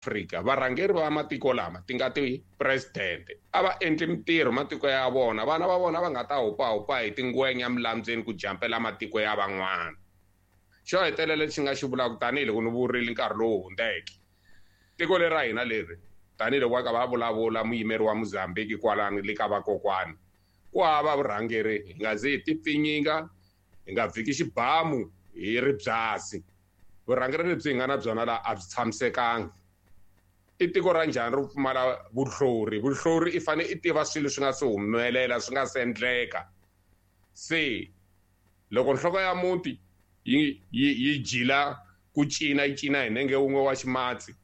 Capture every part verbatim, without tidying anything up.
Afrika varhangeri va matiko lama ti nga ti-president a va endli mintirho matiko ya vona vana va vona va nga ta hupahupa hi tingwenya emilambyeni ku jampela matiko ya van'wana. Xo hetelela lexi nga xi vulaka tanihiloko ni vurile nkarhi lowu hundzeke, tiko leri ra hina leri tanihiloko va ka va vulavula muyimeri wa Mozambique kwalano le ka vakokwani, ku hava vurhangeri, hi nga zi hi tipfinyinga, hi nga vhiki xibamu hi ri byasi. Vurhangeri lebyi hi nga na byona laha a byi tshamisekanga. I tiko ra njhani ro pfumala vuhlori? Vuhlori i fanele i tiva swilo swi nga se humelela, swi nga se endleka. Se loko nhloko ya muti yi yi yi jila ku cina yi cina hi nenge wun'we wa ximatsi,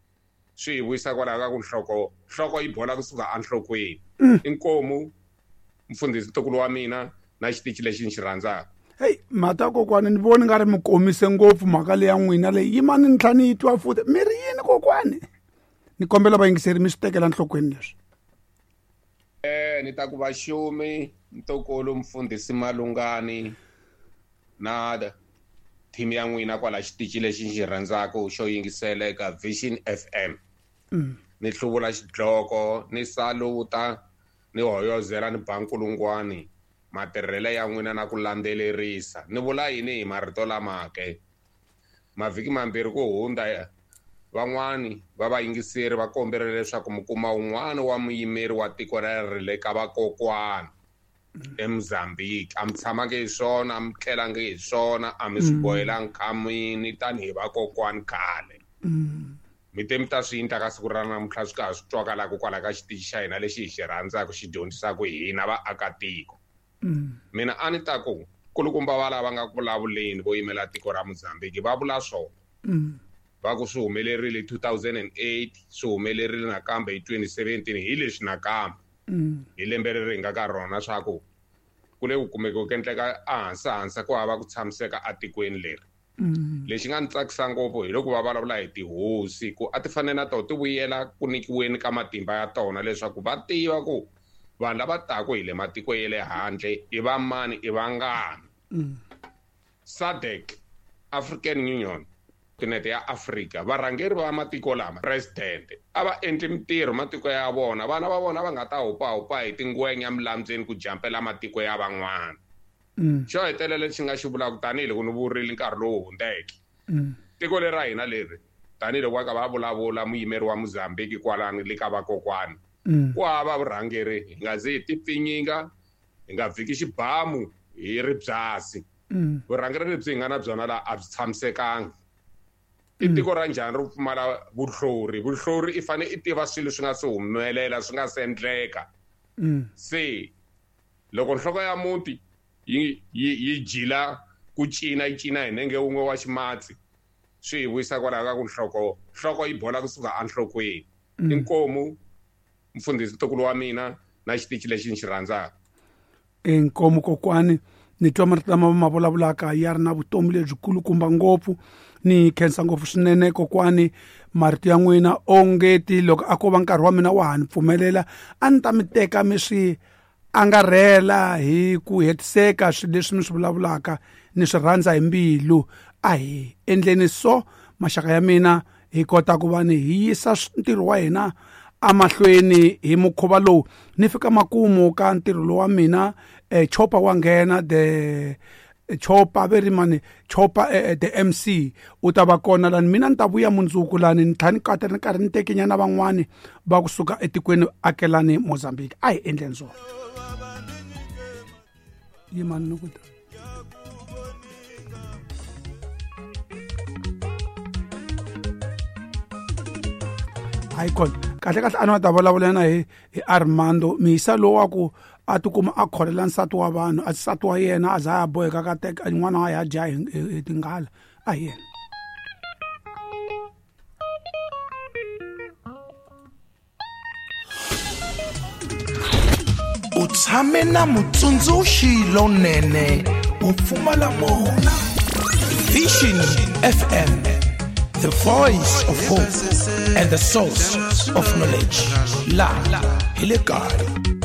swi hi vuyisa kwalaho ka ku nhloko nhloko yi bola kusuka enhlokweni. Inkomu mfundhisi ntukulu wa mina na xitichi lexi ni xi rhandzaka. Hey, mhata kokwani ni voni nga ri mi komise ngopfu mhaka leya n'wina leyi yimani ni tlhela ni yi twa futhi mi ri yini kokwani? Ni kombela vayingiseri mi swi tekela nhlokweni leswi. Eh ni ta ku vaxumi ntukulu mfundhisi Malungani na team ya n'wina kwala xitichi lexi ni xi rhandzaka xo yingisela eka Vision F M. Mm. Ni hluvula xidloko, ni saluta, ni hoyozela ni ba nkulungwani matirhelo ya n'wina na ku landzelerisa. Ni vula yini hi marito lama ke? Mavhiki mambirhi ku hundza van'wani va vayingiseri va komberile leswaku mi kuma un'wana wa muyimeri wa tiko leri le ka vakokwana eMozambique. A mi tshamangi hi swona, a mi tlelangi hi swona, a mi swi bohelangi khamini tanihi vakokwani khale. Mi te mi ta swi endla ka siku ra namuntlha swi ka ha swi twakalaka kwala ka xitichi xa hina lexi hi xi rhandzaka xi dyondzisaka hina vaakatiko. Mina a ni ta ku kulukumba va lava nga ku vulavuleni vo yimela tiko ra Mozambique va vula swona. Va ku swi humelerile hi two thousand and eight, swi humelerile nakambe hi twenty seventeen, hi leswi nakambe hi lembe leri hi nga ka rona swa ku ku le ku kumeke ku endleka ehansi hansi ku hava ku tshamiseka etikweni leri. Lexi nga ni tsakisa ngopfu hi loko va vulavula hi tihosi ku a ti fanele na tona ti vuyela ku nyikiweni ka matimba ya tona leswaku va tiva ku vanhu lava taka hi le matiko ya le handle i va mani, i vangani. SADC, African Union, Kontinente ya Afrika, varhangeri va matiko lama president a va endli mintirho matiko ya vona, vana va vona va nga ta hupahupa hi tingwenya emilambyeni ku jampela matiko ya van'wana. Xo hetelela lexi nga xi vulaka tanihiloko ni vurile nkarhi lowu hundzeke, tiko leri ra hina leri tanihiloko va ka va vulavula muyimeri wa Mozambique kwalano le ka vakokwani, ku hava vurhangeri, hi nga zi hi tipfinyinga, hi nga vhiki xibamu hi ri byasi. Vurhangeri lebyi hi nga na byona laha a byi tshamisekanga. I tiko ra njhani ro pfumala vuhlori? Vuhlori i fanele i tiva swilo swi nga se humelela, swi nga se endleka. Se loko nhloko ya muti yi yi yi jila ku cina yi cina hi nenge wun'we wa ximatsi, swi hi vuyisa kwalaho ka ku nhloko nhloko yi bola kusuka enhlokweni. Inkomu mfundhisi ntukulu wa mina na xitichi lexi ni xi rhandzaka. Inkomu kokwani, ni twa marito lama ma vulavulaka ya ri na vutomi lebyikulukumba ngopfu. Ni khensa ngopfu swinene kokwani, marito ya n'wina ongeti loko a ko va nkarhi wa mina wa ha ni pfumelela a ni ta mi teka mi swi angarhela hi ku hetiseka swilo leswi mi swi vulavulaka, ni swi rhandza hi mbilu. A hi endleni so maxaka ya mina hi kota ku va ni hi yisa ntirho wa hina amahlweni hi mukhuva lowu. Ni fika makumu ka ntirho lowu wa mina, eh, Chopa wa nghena the Chopa veri mani Chopa eh, the M C u ta va kona lani, mina ni ta vuya mundzuku lani ni tlhela ni kata ni karhi ni tekenyana van'wani va kusuka etikweni akelani Mozambique. A hi endleni swona. Yimani ni ku ta. Hayi kona kahle kahle a ni va ta vulavula na hi hi Armando Misa lowu wa ku a tikuma a kholela nsati wa vanhu, a nsati wa yena a za a boheka ka teka n'wana wa ya dya hi, hi tinghala. A hi yena. U tshame na mutsundzuxi lonene wo pfumala mona. Vision F M, the voice of hope and the source of knowledge. La hi le kaya.